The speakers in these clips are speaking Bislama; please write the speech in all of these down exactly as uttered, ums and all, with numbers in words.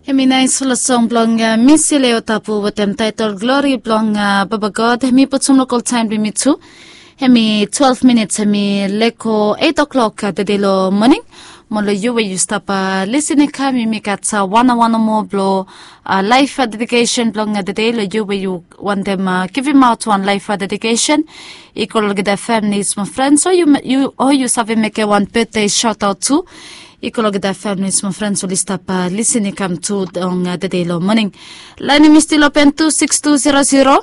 Hemi naisfala song blong misi leo tapu wetem taetol glori blong baba god. Hemi putum lokol taem blong yumi tu. Hemi twelve minits hemi leko eight o'clock tede long moning. Mo long yu we yu stap lisin i kam yumi gat wan awa nomo blong laef dedikesen blong tede long yu we yu wantem givimaot wan laef dedikesen. I go long olgeta familis mo frens o yu save mekem wan betde saotaot tu. I go long olgeta familis mo frens oli stap lisin i kam tu long tede long moning. Laen yumi stil open tu siks tu zero zero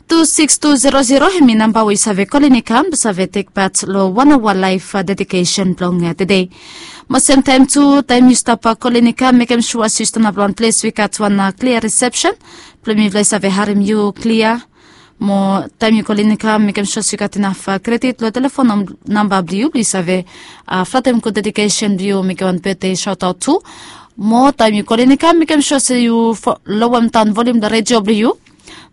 tu siks tu zero zero. Hemi namba we yu save kolin i kam blong save tekpat long wan awa laef dedikesen blong tede. Mo semtaem tu taem yu stap kolin i kam mekem sua se yu stanap long wan ples we i gat wan klia risepsen blong mifala i save harem yu klia. Mo taem yu kolin i kam mekem sua se yu gat inaf kredit long telefon namba blong yu blong yu save flatem gud dedikesen blong yu mekem wan betde saotaot tu. Mo taem yu kolin i kam mekem sua se yu lowem daon volium long redio blong yu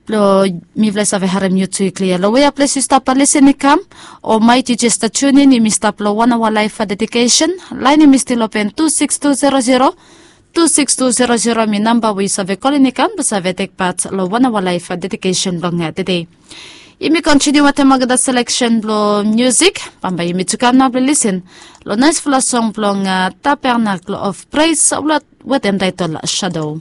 blong mifala i save harem yu tu i klia long wea ples yu stap lisin i kam. O maet yu jes tunin yumi stap long wan awa laef dedikesen. Laen yumi stil open tu siks tu zero zero tu siks tu zero zero hemi namba we yu save kolin i kam blong save tekpat long wan awa laef dedikesen blong tede. Yumi kontiniu wetem olgeta seleksen blong miusik. Bambae yumi tu kam nao blong lisin long naesfala song blong tabernakel of pres wetem taetol shadow.